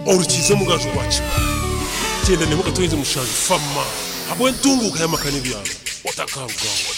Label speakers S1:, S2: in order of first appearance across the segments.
S1: Orukiize omugaju gwa Kibaale. Kyenda n'emwe akatoize mushanju Fama ahabw'entunguuka y'amaka n'ebyaro. Otakarugaho.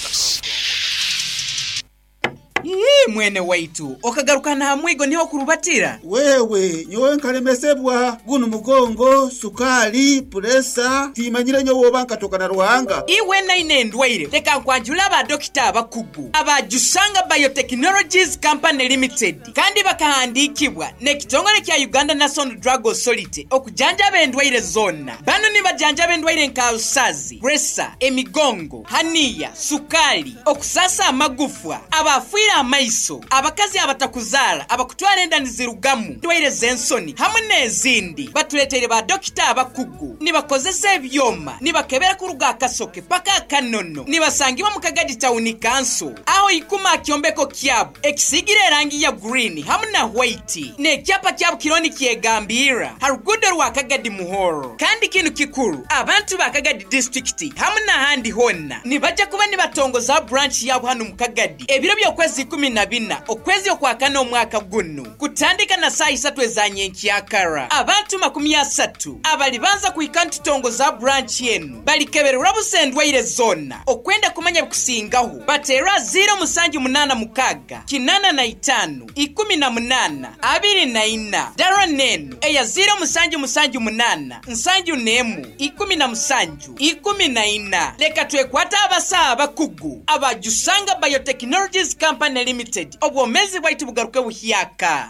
S2: Ii, Mwene waitu, okagaruka n'aha mwigo niho okurubatira?
S3: Wewe, nyowe nkalemesebwa gunu mugongo, sukaali, puresa, timanyire nyowe oba nkatoka na Ruhanga.
S2: Iwe naine endwaire, leka nkwanjure aba dokita abakugu aba Jusanga Biotechnologies Company Limited kandi bakahandiikibwa n'ekitongore kya Uganda National Drug Authority okujanjaba endwaire zoona. Banu nibajanjaba endwaire nka alusazi, puresa, emigongo, haniya, sukaali, okusaasa amagufwa, abaafiire amaiso, abakazi abatakuzaara, abakutwara enda nizirugamu, endwaire z'ensoni hamwe n'ezindi. Batureeteire ba dokita abakugu, nibakozesa ebyoma, nibakebera kuruga aha kasoke paka aha kanono. Nibasangibwa omu Kagadi Town Council, aho ikuma aha kyombeko kyabo ekisiigire erangi ya green hamwe na white, n'ekyapa kyabo kiriho nikyegambirra ha ruguudo rwa Kagadi Muhoro. Kandi kinu kikuru, abantu ba Kagadi Disiturikiti hamwe n'ahandi hoona nibaija kuba nibatongozaho branch yaabo hanu omu Kagadi ebiro by'okwezi 14 okwezi okwakana omwaka gunu kutandika na saaha isatu eza nyenkyakara. Abantu 30 abalibanza kuhika nitutongozaho branch enu balikebererwa busa endwaire zoona. Okwenda kumanya ebikusingaho bateerwe aha 0786 85 18 24. Dara n'enu eya 0778 71 17 14. Leka twekwate abasaho abakugu aba Jusanga Biotechnologies Company Limited obwomeezi bwaitu bugaruke buhyaka.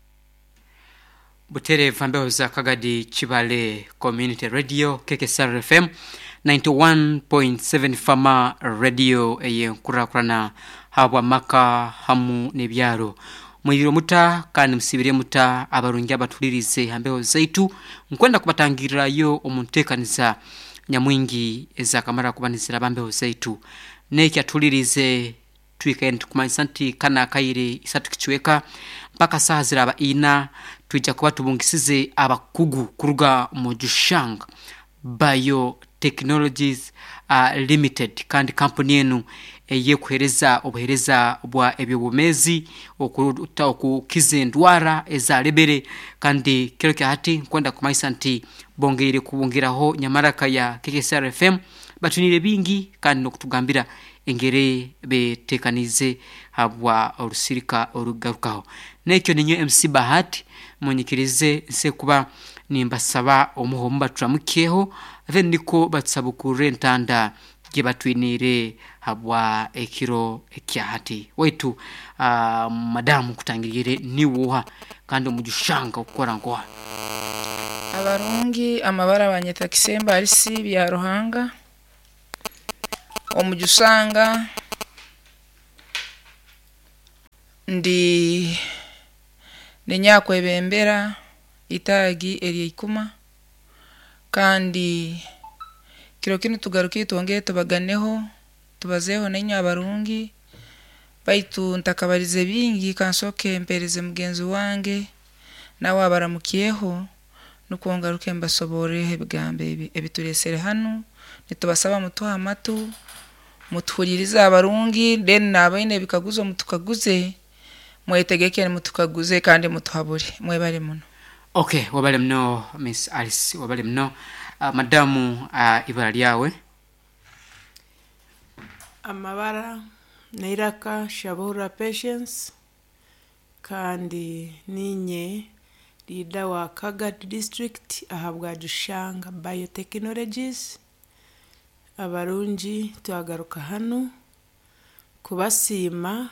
S4: Butereevu mbeho za Kagadi Kibale Community Radio KKSR FM 91.7 Fama Radio ey'enkurakurana habw'amaka hamu n'ebyaro. Mwibire muta kandi musibire muta abarungi abatulirize ha mbeho zaitu. Nkwenda kubatangirrayo omu nteekaniza nyamwingi ezakamara kuba niziraba mbeho zaitu. N'eki atulirize twikaire nitukumanyisa nti kana akaire isatu kicweka mpaka saaha ziraba ina twija kuba tubungisize abakugu kuruga mu Jushang Biotechnologies Limited kandi kampuni enu ey'ekuheereza obuheereza bwa eby'obwomeezi okukiza endwara ezalebere kandi kiro kya hati nkwenda kumanyisa nti bongeire kubungiraho nyamaraka ya KKSR FM batwiniire bingi kandi n'okutugambira engeri betekaniize habwa orusirika orukugarukaho. N'ekyo ninyowe MC Bahati munyikirize nse kuba nimbasaba omuho omu baturamukyeho then nikwo batusabukurre entanda gyebatwiniire habwa ekiro ekya hati. Waitu madamu nkutangiriire niiwe oha kandi omujushanga okukora nkoha?
S5: Abarungi amabara banyeta Kisembo Alisi Byaruhanga, omujusanga ndi ninyakwebembera itaagi erya Ikuma kandi kiro kinu tugarukire twongere tubaganeho tubazeeho nainywe abarungi baitu ntakabarize bingi kansooke mpeereze mugenzi wange nawe abaramukyeho nukwo ngaruke mbasoborreho ebigambo ebi ebitureesere hanu. Nitubasaba mutuhe amatu mutuhuliirize abarungi then n'abaine ebikaguzo mutukaguze mwetegeke mutukaguze kandi mutuhabure. Mwebale muno.
S4: Okay, wabale muno Miss Alice, wabale muno. Madamu ibara lyawe?
S6: Amabara n'eiraka Shabura Patience kandi niinye leader wa Kagadi district ahabwa Jushanga Biotechnologies. Abarungi twagaruka hanu kubasiima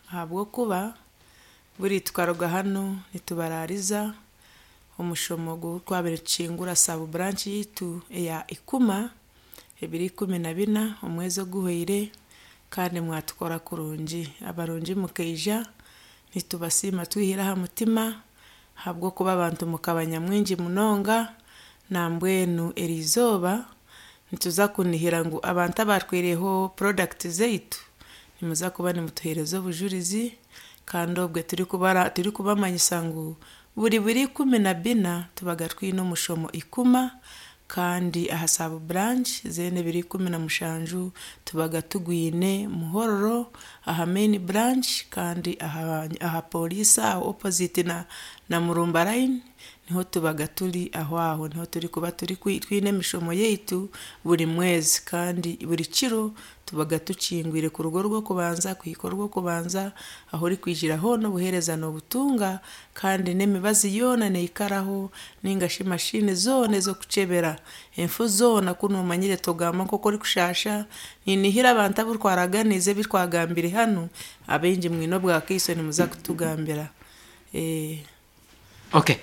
S6: ahabw'okuba buri tukaruga hanu nitubaraariza omushomo ogu twabire nitukingura sub branch yaitu eya Ikuma ebiro 14 omwezi oguhweire kandi mwatukora kurungi. Abarungi mukaija nitubasiima twihire aha mutima ahabw'okuba abantu mukaba nyamwingi munonga nambwenu eriizooba nituza kunihira ngu abantu abatwireho product zaitu nimuza kuba nimutuheereza obujurizi kandi obwe turikubamanyisa ngu buri biro 14 tubaga twine omushomo Ikuma kandi aha sub branch zeena ebiro 17 tubaga tugwine Muhorro aha main branch kandi aha police aho opposite na Murumba line niho tubaga turi aho aho niho turikuba turi twine emishomo yaitu buri mwezi kandi buri kiro tubaga tukingwire kuruga orw'okubanza kuhika orw'okubanza ahu orikwijira hoona obuheereza noobutunga kandi n'emibazi yoona neikaraho ninga shi mashini zoona ez'okukyebera enfu zoona ku noomanyire togamba nk'oku orikushasha ninihira abantu abu twaraganiize ebi twagambire hanu abaingi mwine obwakaiso nimuza kutugambira.
S4: Okay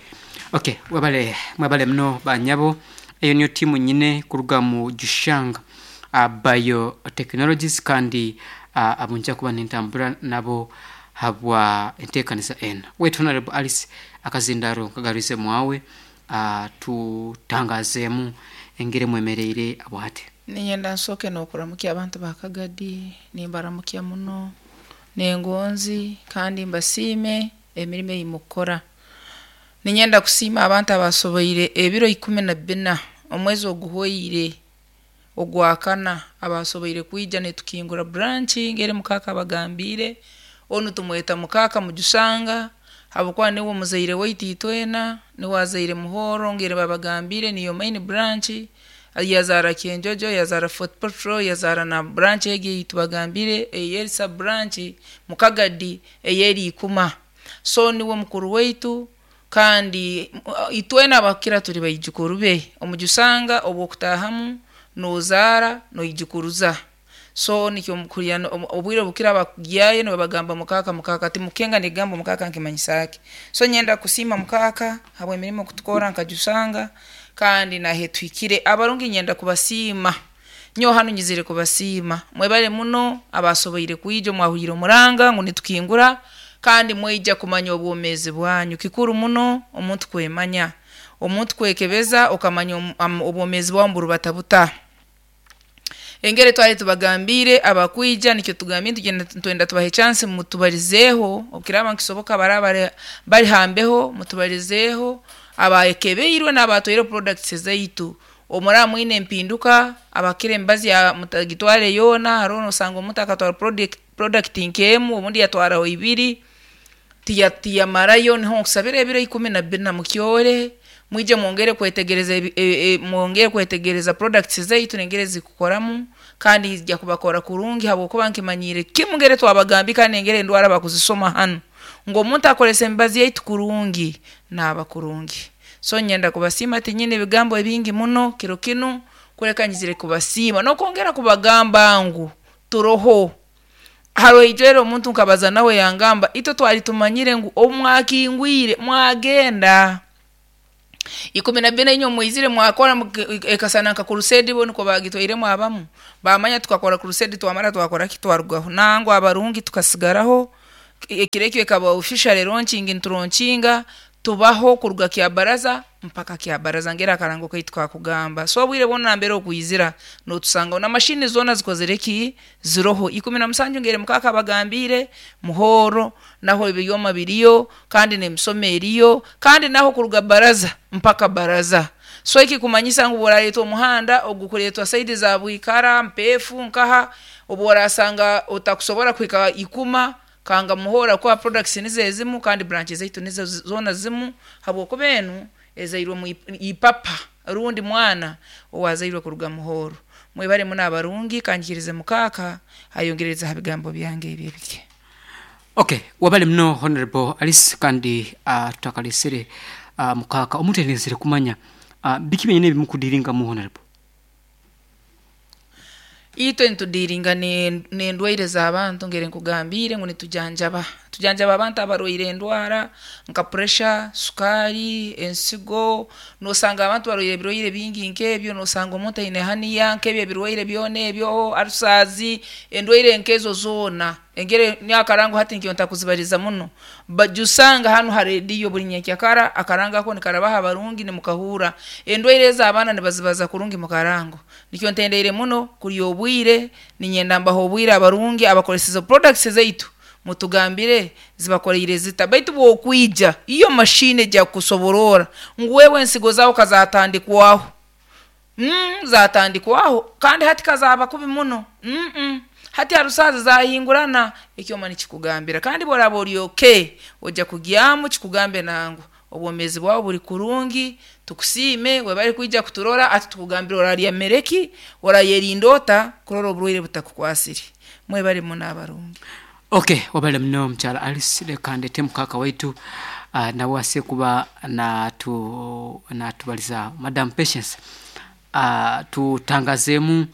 S4: okay mwebale mwebale muno banyabo eyo niyo tiimu nyine kuruga mu Jushang Biotechnologies kandi abo nja kuba nintambura nabo habwa enteekanisa enu. Waitu Honorable Alice akazindaro nkagaruize mwawe tutangazeemu engeri mwemereire abwahati.
S5: Niinyenda nsooke n'okuramukya abantu ba Kagadi, nimbaramukya muno n'engonzi kandi mbasiime emirimo ei mukukora. Niinyenda kusiima abantu abaasoboire ebiro 14 omwezi oguhweire ogwakana abaasoboire kwija nitukingura branch ngeri mukaaka abagambiire, onu tumweta mukaaka Mujusanga habwokuba niwe muzaire waitu itwena, niwe azaire Muhoro ngeri babagambiire niyo main branch, yazaara Kyenjojo, yazaara Fort Portal, yazaara na branch egi ei tubagambiire ey'eri sub branch Mukagadi ey'eri Ikuma. So niwe mukuru waitu kandi itwena abakukira turi baijukuru be. Omujusanga obw'okutaahamu noozaara noijukuruza. So nikyo mukuhurira obwire obukira abakugyayo nibabagamba mukaaka mukaaka timukenga n'ekigambo mukaaka nikimanyisa ki. So nyenda kusiima mukaaka habw'emirimo kutukora nka Jusanga kandi nahe tuhikire. Abarungi nyenda kubasiima. Nyowe hanu nyizire kubasiima. Mwebale muno abaasoboire kwija mwahuriire omuranga ngu nitukingura kandi mwaija kumanya obwomeezi bwanyu. Kikuru muno omuntu kwemanya, omuntu kwekebeza okamanya obwomeezi bwawe niburubata buta. Engeri twali tubagambiire abakwija nikyo tugambire nitugenda nitwenda tubahe chance mutubarizeeho obukiraaba nikisoboka abaraaba bari ha mbeho mutubarizeeho abakebeirwe n'abaatwaire products zaitu. Obu muraaba mwine empinduka abakira emibazi mutagitware yoona haroho noosanga omuntu akatwara product nk'emu obundi yatwaraho ibiri tiyamarayo niho nkusabira ebiro 14 mukyore mwije mwongere kwetegereza mwongere kwetegereza products zaitu n'engeri ezikukoramu kandi zijya kubakora kurungi habwokuba nkimanyiire kimu ngeri twabagambiire kandi n'engeri endwara bakuzisoma hanu ngu omuntu akozesa emibazi yaitu kurungi naaba kurungi. So niinyenda kubasiima tinyine ebigambo ebingi muno kiro kinu kureka nyizire kubasiima n'okwongera kubagamba ngu turoho. Haroho ijweri omuntu nkabaza nawe yangamba itwe twali tumanyire ngu obu mwakingwire mwagenda. 14 inywe mwizire mwakora ekasana nka crusade bo nikwo baagitwairemu abamu baamanya tukakora crusade twamara twakora ki twarugaho. Nangwa abarungi tukasigaraho ekiro ekyo ekaba officially launching nituronkinga tubaho kuruga Kyabaraza mpaka Kyabaraza ngeri akarango kaitu kakugamba. So obwire bwona nambere okwizira nootusangaho na mashini zoona zikozire ki ziroho. 17 ngeri mukaaka abagambiire Muhoro naho ebyoma biriyo kandi n'emisomo eriyo kandi naho kuruga baraza mpaka baraza. So ekikumanyisa ngu obu orareetwa omuhanda ogukureetwa saidi za Bwikara, Mpeefu nkaha obu orasanga otakusobora kuhika Ikuma kanga Muhoro habwokuba products nizo ezimu kandi branch zaitu nizo zoona zimu habwokuba enu ezairwe omu ipapa rundi mwana owaazairwe kuruga Muhoro. Mwebale muno abarungi kanyikirize mukaaka ayongerereze ha bigambo byange ebi ebike.
S4: Okay, webale muno Honorable Alice kandi tutakalesere mukaaka omuntu aine kumanya biki byenyini ebimukudiringamu Honorable?
S5: Itwe nitudiiringa n'endwaire z'abantu ngeri nkugambiire ngu nitujanjaba. Tujanjaba abantu abarwaire endwara nka puresha, sukaari, ensigo, noosanga abantu barwaire ebirwaire bingi nk'ebyo, noosanga omuntu aine hernia nk'ebyo ebirwaire byona ebyo, ulcers, endwaire nk'ezo zoona. Engeri nyowe akarango hati nikyo ntakuzibaliza muno. Bajusanga hanu ha rediyo buri nyenkyakara akarango ako nikarabaho abarungi nimukahurra. Endwaire ezo abaana nibazibaza kurungi mu karango. Nikyo ntendeire muno kurya obwire, niinyenda mbahe obwire abarungi abakozeseze products zaitu mutugambire zibakoreire zita. Baitu bw'okwija iyo mashini ejya kukusobororra ngu wewe ensigo zaawe kazatandikwaho. Zatandikwaho kandi hati kazaaba kubi muno. Hati harusaazi zahingurana ekyoma nikikugambira kandi obu oraaba ori okay ojya kugyamu kikugambe nangwa. Obwomeezi bwawe buri kurungi, tukusiime webare kwija kuturora ati tukugambire orarya mere ki, orayerinda ota kurora oburwaire butakukwasire. Mwebare muno abarungi.
S4: Okay, wabale muno mukyala Alice. Leka ndete mukaka waitu nawe ase kuba natubaliza. Madam Patience, tutangazeemu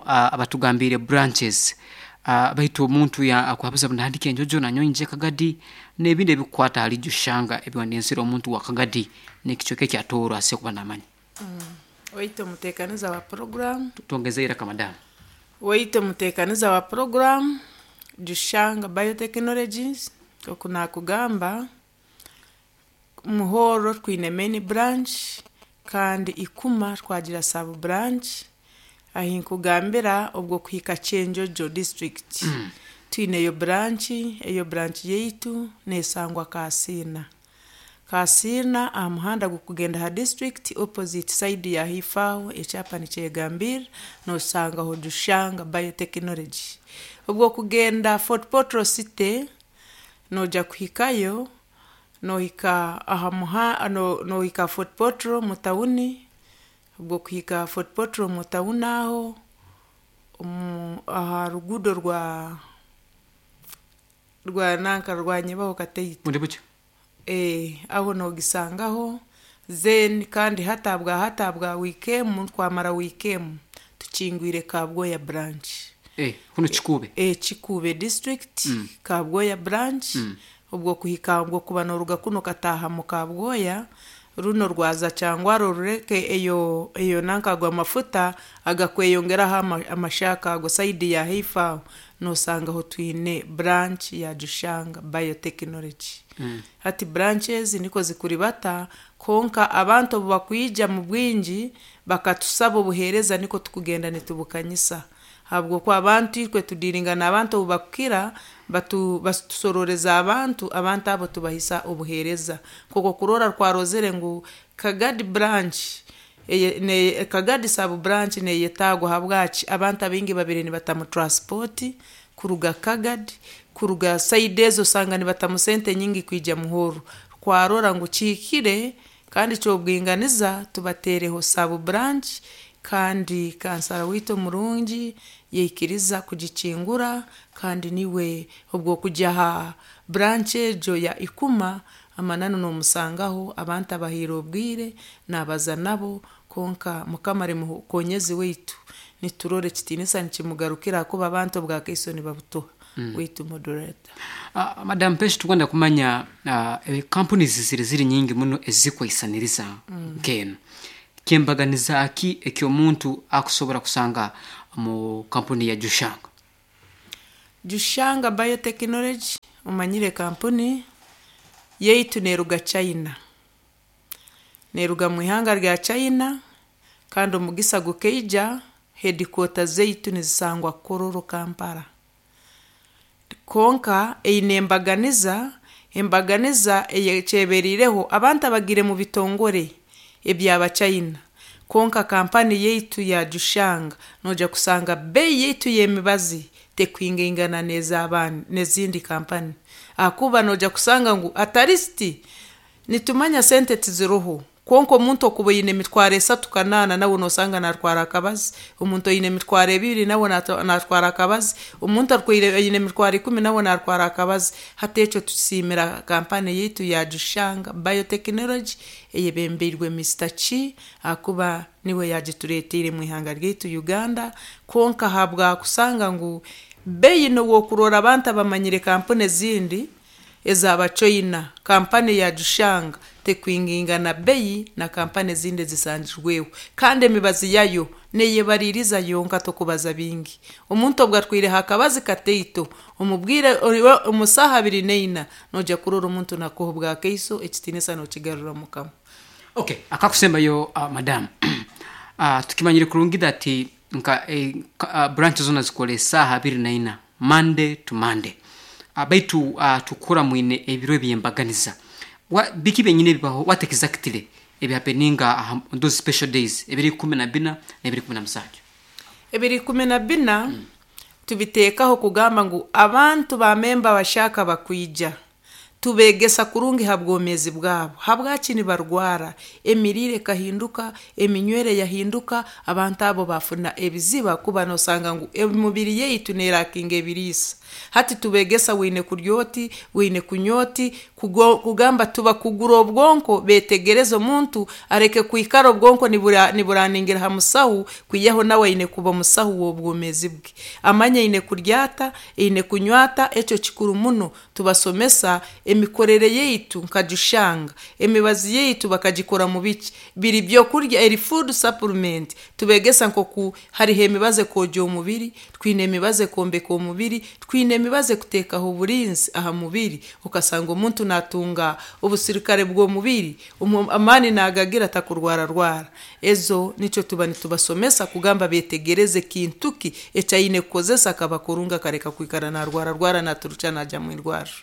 S4: abatugambiire branches, baitu omuntu akuhabuza nahandika enjojo nanyowe nyije Kagadi n'ebindi ebikukwata ahali Jushanga ebiwandinsire omuntu wa Kagadi n'ekicweka ekya Tooro ase kuba namanya.
S6: Waitu omuteekaniza wa program.
S4: Twongeze iraka madamu.
S6: Waitu omuteekaniza wa program Jushanga Biotechnologies, oku nakugamba Muhoro twine main branch kandi Ikuma twagira sub branch, ahi nkugambira obwo kuhika Kyenjojo district twineyo branch, eyo branch yaitu nesangwa Kaasiina. Kaasiina aha muhanda gukugenda aha district opposite side ya haifo aho ekyapa nikyegambirra noshangaho Jushanga Biotechnology. Obwo kugenda Fort Portal City noija kuhikayo nohika aha muha nohika Fort Portal omu tawuni, obwo kuhika Fort Portal omu tawuni aho aha ruguudo rwa rwa nanka rwa Nyebaho Kateito.
S4: Bundi bukye.
S6: Aho nogisangaho then kandi hati ahabwa hati ahabwa wiiki emu twamara wiiki emu tukingwire Kabwoya branch.
S4: Kunu Kikuube.
S6: Kikuube district, Kabwoya branch, obwo kuhika obwo kuba noruga kunu okataaha mu Kabwoya, runo rwaza Kyangwaro orureke eyo eyo nanka ago amafuta agakweyongeraho amashaaka ago side ya haifo aho nosangaho twine branch ya Jushanga Biotechnology. Hati branch ezi nikwo zikuribata, kwonka abantu obu bakwija mu bwingi bakatusaba obuheereza nikwo tukugenda nitubukanyisa. Ahabw'okuba abantu itwe tudiiringa n'abantu obu bakukira batusororeza abantu, abantu abo tubahisa obuheereza. Nk'oku okurora twarozere ngu Kagadi branch, Kagadi sub branch neyetaagwa habwaki abantu abaingi babaire nibatamu transport kuruga Kagadi, kuruga side ezo osanga nibatamu sente nyingi kwija Muhoro. Twarora ngu kihikire kandi ky'obwinganiza tubateereho sub branch kandi kansara waitu omurungi yaikiriza kugikingura kandi niwe obwo kugya aha branch egyo ya Ikuma amananu nomusangaho abantu abahaire obwire nabaza nabo, kwonka Mukama ari mukonyezi waitu niturora ekitiinisa nikimugarukira ahakuba abantu obwakaiso nibabutuha. Waitu moderator.
S4: Madam Peshi, tukwenda kumanya companies ziri ziri nyingi muno ezikwaisaniriza nk'enu. Kyembaganiza ki eky'omuntu akusobora kusanga mu kampuni ya Jushanga?
S6: Jushanga Biotechnology omanyire kampuni yaitu neruga China. Neruga mu ihanga rya China kandi omugisa gukaija headquarters zaitu nizisangwa Kololo Kampala. Kwonka eine embaganiza, embaganiza eyekyeberiireho abantu abagiire mu bitongore eby'Abachina. Kwonka kampani yaitu ya Jushanga noija kusanga beeyi yaitu y'emibazi tekwingaingana n'ezindi kampani. Ahakuba noija kusanga ngu at least nitumanya sente tiziroho, kwonka omuntu okuba oine emitwaro esatu kanaana nawe nosanga natwara akabazi, omuntu oine emitwaro ebiri nawe natwara akabazi, omuntu aine emitwaro ikumi nawe natwara akabazi. Hati ekyo tusiimira kampani yaitu ya Jushanga Biotechnology eyebembeirwe Mister Chi ahakuba niwe yagitureeteire omu ihanga ryaitu Uganda, kwonka ahabwa kusanga ngu beeyi n'obu okurora abantu abamanyire kampuni ezindi ez'Abachoina, kampani ya Jushanga tekwingaingana beeyi na kampani ezindi ezisangirweho kandi emibazi yayo neyebariiriza yonka tokubaza bingi. Omuntu obu atwireho akabazi kataito omubwire omu saaha abiri naina noija kurora omuntu nakuha obwakaiso ekitiinisa nokigarura Mukama.
S4: Okay, akakusembayo madam, tukimanyire kurungi that nka branch zona zikora esaaha abiri naina Monday to Monday, baitu tukura mwine ebiro ebyembaganiza. Biki byenyini ebibaho, what exactly ebihappeninga on those special days ebiro 14 n'ebiro 17?
S6: Ebiro 14 tubiteekaho kugamba ngu abantu ba memba abashaka bakwija. Tubeegesa kurungi ha bwomeezi bwabo, habwaki nibarwara, emiriire ekahinduka, eminywere yahinduka, abantu abo bafuna ebiziba kuba nosanga ngu emibiri yaitu nerakinga ebiriisa. Hati tubeegesa wine kurya oti, wine kunywa oti, kugamba tubakugura obwonko betegereze omuntu areke kwikara obwonko niburaningira ha musahu, kwihaho nawe aine kuba omusahu w'obwomeezi bwe. Amanye aine kurya ata, aine kunywa ata, ekyo kikuru muno. Tubasomesa emikorere yaitu nka Jushanga, emibazi yaitu bakagikora mu biki, biri byokurya eri food supplement. Tubeegesa nk'oku hariho emibazi ekwogya omubiri, twine emibazi ekwombeka omubiri, twine emibazi ekuteekaho oburinzi aha mubiri, okasanga omuntu natunga obusirikare bw'omubiri, amaani nagagira atakurwararwara. Ezo nikyo tuba nitubasomesa kugamba betegereze kintu ki eki aine kukozesa akaba kurungi akareka kwikara narwararwara naturukya najya mu irwariro.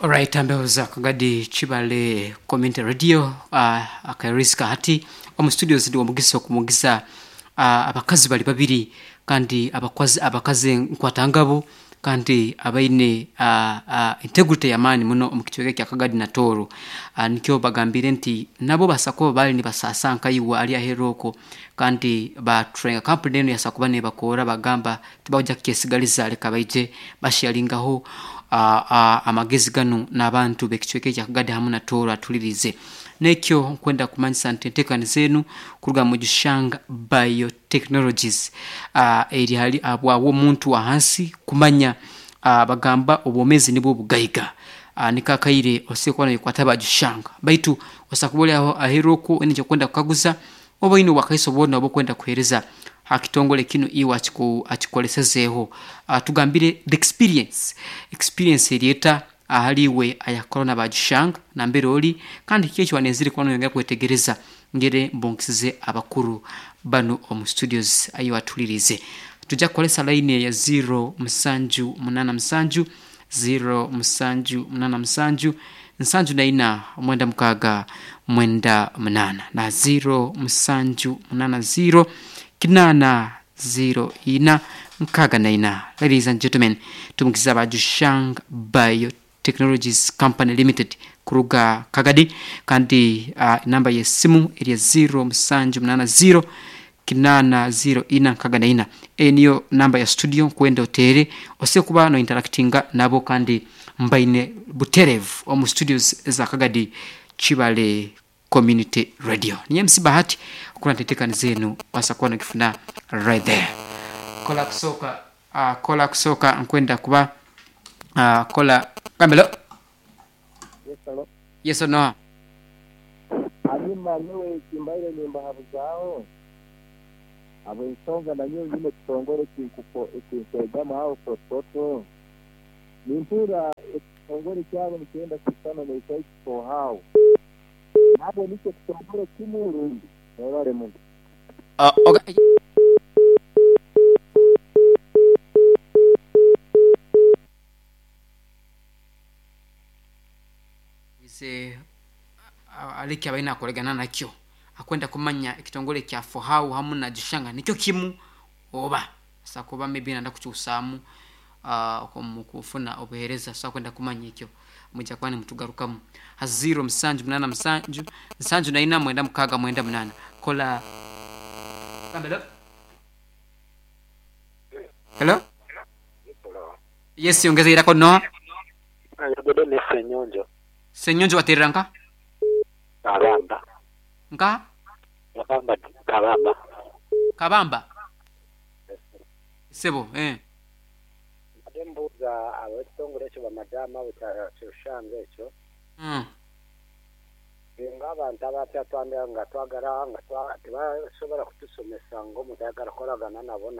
S4: Alright, ambeho za Kagadi Kibale Community Radio akarisika hati omu studios ndi omugisa okumugisa abakazi bali babiri kandi abakazi nkwatangabo kandi abaine integrity y'amaani muno omu kicweka kya Kagadi na Tooro. Nikyo bagambire nti nabo basa kuba bali nibasasa nkaiwe ali aheeru okwo kandi batrenga kampuni enu yasa kuba nebakoora bagamba tibakujya kukyesigaliza leka baije basharingaho amagezi ganu n'abantu b'ekicweka ekya Kagadi hamu na Tooro atulirize. Nekyo nkwenda kumanyisa nti enteekaniza enu kuruga mu Jushanga Biotechnologies eri hali abwawe omuntu wa hansi kumanya bagamba obwomeezi nibwo bugaiga. Niko akaire osobola kuba noyekwata Bajushanga baitu osobola kuba ori aho aheeru okwo oine ekyokwenda kukaguza oba oine obwakaiso bwona obwokwenda kuheereza ha kitongole kinu iwe akikolesezeeho. Tugambire the experience, experience eri eta ahali iwe ayakora na Bajushanga nambere ori kandi kiki eki wanenzire kuba noyongera kwetegereza ngere mbonkisize abakuru banu omu studios ahi watulirize. Tujja kukoresa layini eya 0 musanju munaana musanju 0 musanju munaana musanju nsanju na ina mwenda mukaaga mwenda munaana na 0 musanju munaana 0 kinaana 0 ina nkaaga na ina. Ladies and gentlemen, tumukiza aba Jushang Biotechnologies Company Limited kuruga Kagadi kandi enamba y'esimu eri 0 musanju munaana 0 kinaana 0 ina nkaaga na ina. Eyo niyo namba ya studio nkwenda oteere osobola kuba nointeractinga nabo kandi mbaine butereevu omu studios eza Kagadi Kibale Community Radio. Niinywe MC Bahati okurora nti enteekaniza enu obaasa kuba nogifuna right there. Kola kusooka kola kusooka nkwenda kuba kola gambe hello.
S7: Yes, hello.
S4: Yes or no?
S7: Hanyuma nyowe ekimbaire nimbahabuzaaho habw'ensonga nanyowe nyine ekitongore ekinkwegama aho Fort Portal, nimpurra ekitongore kyabo nikyenda kusisana n'ekyaitu Fohow. Nabwo nikyo kitongore kimu rundi? Mwebale muno.
S4: Ise aleke abaine akoregana nakyo akwenda kumanya ekitongore kya Fohow hamu na Jushanga nikyo kimu oba asobola kuba maybe nayenda kukyusaamu omu kufuna obuheereza so akwenda kumanya ekyo mwija kuba nimutugarukamu ha 0 musanju munaana musanju nsanju na ina mwenda mukaaga mwenda munaana. Kola Gambe hello. Hello. Yes, yongeza irako Noah.
S7: Ayogedde ne Ssenyonjo.
S4: Ssenyonjo waterera nka?
S7: Kabamba.
S4: Nka?
S7: Kabamba, Kabamba.
S4: Kabamba? Sebo, eh.
S7: Mbadde mbuuza ab'ekitongole ekyo bamadaama abo kyoshange ekyo. Singa abantu abapya twambera nga twagala nga tibasobola kutusomesa ng'omuntu ayagala kukolagana nabo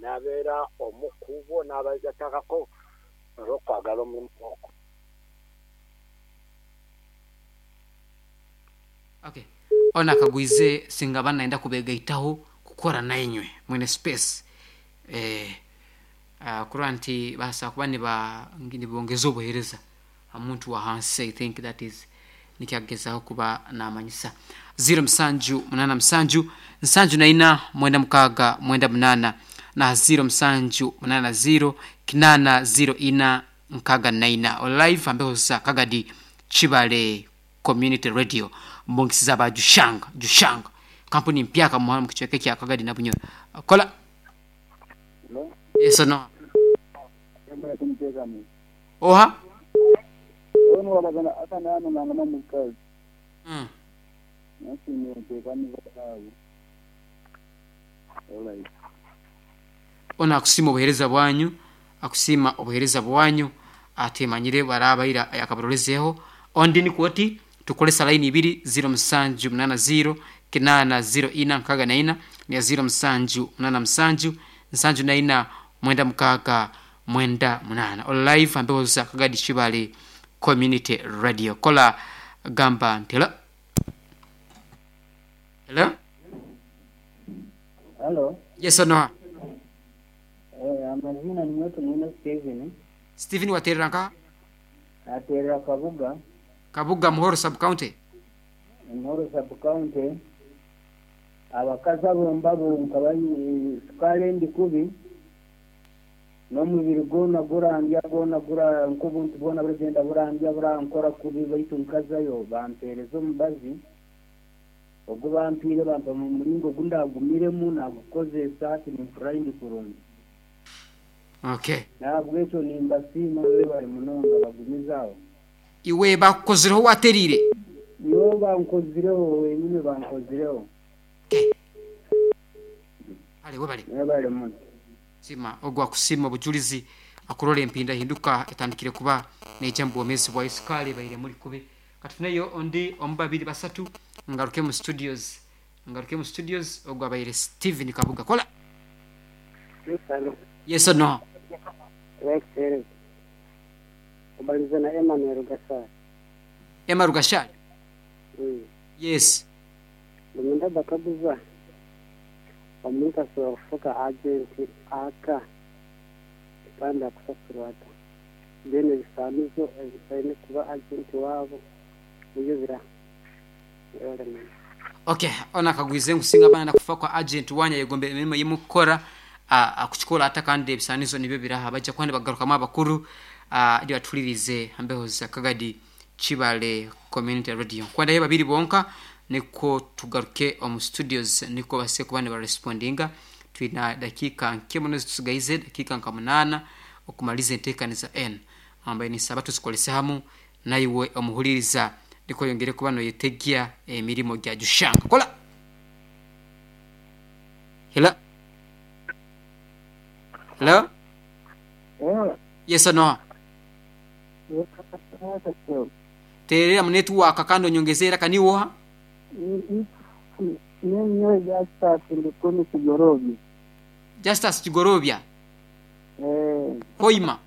S7: nabeera omu kubo n'abagatakako olw'okwagala omulimu ogwo.
S4: Okay. Ono akagwize singa aba nayenda kubegaitaho kukora nainywe mwine space kurora nti basobola kuba nibongeza obuheereza ha muntu wa hansi. I think that is nikyo akugezaho kuba namanyisa. 0 musanju munaana musanju nsanju na ina mwenda mukaaga mwenda munaana na 0 musanju munaana 0 kinaana 0 ina 64 live ambeho za Kagadi Chibale Community Radio mbongisiza ba Jushanga Jushanga kampuni mpyaka muhana mu kichweka kya Kagadi na Bunyoro kola yeso no oha Ona akusima obuhereza bwanyu, akusima obuhereza bwanyu atemanyire barabaira yakabarolezeho. Ondi ni kwoti tukolesa line ibiri 0780 804 64 ni 0787 74 96 98 live ambeho za Kagadi Chibale Community Radio. Kola gamba ntela hello.
S8: Halo.
S4: Yes or no?
S8: Amazina ni mwetu mwine Steven.
S4: Steven waterera nka
S8: Aterera Kabuga.
S4: Kabuga Muhoro sub county.
S8: Muhoro sub county. Abakazi abo mbabo nkabanyi sukari ndi kubi. N'omubiri gwona gurandya gwona gura nk'obuntu bwona buragenda burandya burankora kubi baitu nkazayo bampereza omubazi. Ogwo bampiire bampa mu muringo ogundagumiremu nagukozesa hati nimpurira ndi kurungi.
S4: Okay.
S8: Nahabwekyo nimbasiima bari munonga bagumizaho.
S4: Iwe bakukozireho waterire?
S8: Nibo bankozireho wenyine bankozireho.
S4: Okay. Ale webale.
S8: Webale muno.
S4: Sima ogwo akusima obujulizi akurora empinda hinduka etandikire kuba neija mu bwomeezi bwa sukali baire muri kubi. Katufuneyo ondi omu babiri basatu ngaruke mu studios. Ngaruke mu studios ogwo abaire Steven Kabuga. Kola. Yes or no?
S8: Kubaliza na Emmanuel Gashari.
S4: Emmanuel Gashari? Yes.
S8: Lumunda bakabuza omuntu asobola kufuka agent aka kandi akusasurwa ata then ebisaanizo ebisaine kuba agent waabo nibyo bira.
S4: Okay, ona akagwize nkusinga abana kufa kwa agent wanya yegombe emirimo yemukukora akukikola ata kandi ebisaanizo nibyo biraha bajja kwandi bagarukamu abakuru ndi batulirize ambeho za Kagadi Chibale Community Radio. Kwandayo babiri bonka niko tugaruke omu studios niko base kuba nibarespondinga. Twina dakika nke muno zitusigaize dakika nka 8 okumaliza enteekaniza n ambaye nisaba tuzikolese hamu naiwe omuhuliriza ndiko yongere kuba noyetegya emirimo gya Jushanga. Kola. Hello. Hello. Yes or no? Terera mu network kandi onyongezera kaniwoha.
S8: Nenyo Justus Ndikuni Kigorobya.
S4: Justus Kigorobya. Hoima.